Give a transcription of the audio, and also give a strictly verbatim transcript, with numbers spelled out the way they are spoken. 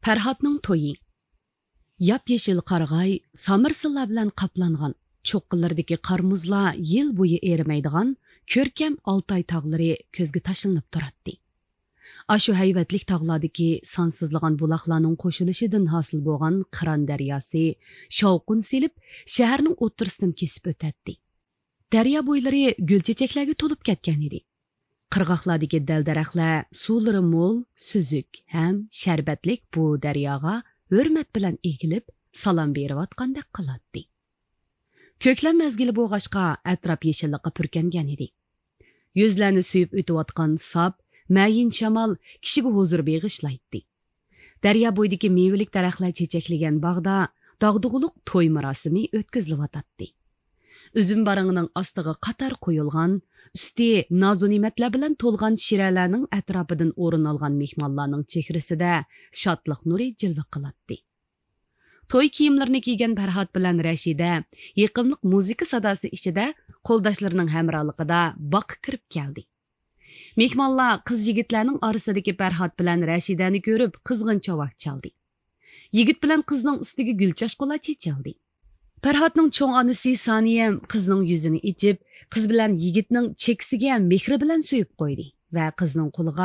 پەرھاتنىڭ تويى. ياپيېشىل قارىغاي، سامىرسىللار بىلەن قاپلانغان، چوققىلىرىدىكى قار-مۇزلار يىل بويى ئېرىمەيدىغان كۆركەم ئالتاي تاغلىرى كۆزگە تاشلىنىپ تۇراتتى. ئاشۇ ھەيۋەتلىك تاغلاردىكى سانسىزلىغان بۇلاقلارنىڭ قوشۇلۇشىدىن ھاسىل بولغان قىران دەرياسى شاۋقۇن سېلىپ، شەھەرنىڭ ئوتتۇرىسىدىن كېسىپ ئۆتەتتى. دەريا بويلىرى گۈل-چېچەكلەرگە تولۇپ كەتكەنىدى. قىرغاقلاردىكى دەل-دەرەخلەر سۇلىرى مول، سۈزۈك ھەم شەربەتلىك بۇ دەرياغا ھۆرمەت بىلەن ئېگىلىپ، سالام بېرىۋاتقاندەك قىلاتتى. كۆكلەم مەزگىلى بولغاچقا، ئەتراپ يېشىللىققا پۈركەنگەنىدى. يۈزلەرنى سۆيۈپ ئۆتۈۋاتقان ساپ، مەيىن شامال كىشىگە ھۇزۇر بېغىشلايتتى. دەريا بويىدىكى مېۋىلىك دەرەخلەر چېچەكلىگەن باغدا داغدۇغىلىق توي مۇراسىمى ئۆتكۈزۈلۈۋاتاتتى. ئۈزۈم بارىڭىنىڭ ئاستىغا قاتار قويۇلغان، ئۈستى نازۇنېمەتلەر بىلەن تولغان شىرەلەرنىڭ ئەتراپىدىن ئورۇن ئالغان مېھمانلارنىڭ چېھرىسىدە شادلىق نۇرى جىلۋە قىلاتتى. توي كىيىملىرىنى كىيگەن پەرھات بىلەن رەشىدە يېقىملىق مۇزىكا ساداسى ئىچىدە قولداشلىرىنىڭ ھەمراھلىقىدا باغقا كىرىپ كەلدى. مېھمانلار قىز-يىگىتلەرنىڭ ئارىسىدىكى پەرھات بىلەن رەشىدەنى كۆرۈپ قىزغىن چاۋاك چالدى. يىگىت بىلەن قىزنىڭ ئۈستىگە گۈل چاچقۇلار چېچىلدى. پەرھاتنىڭ چوڭ ئانىسى سانىيەم قىزنىڭ يۈزىنى ئېچىپ، قىز بىلەن يىگىتنىڭ چېكىسىگە مېھرى بىلەن سۆيۈپ قويدى ۋە قىزنىڭ قولىغا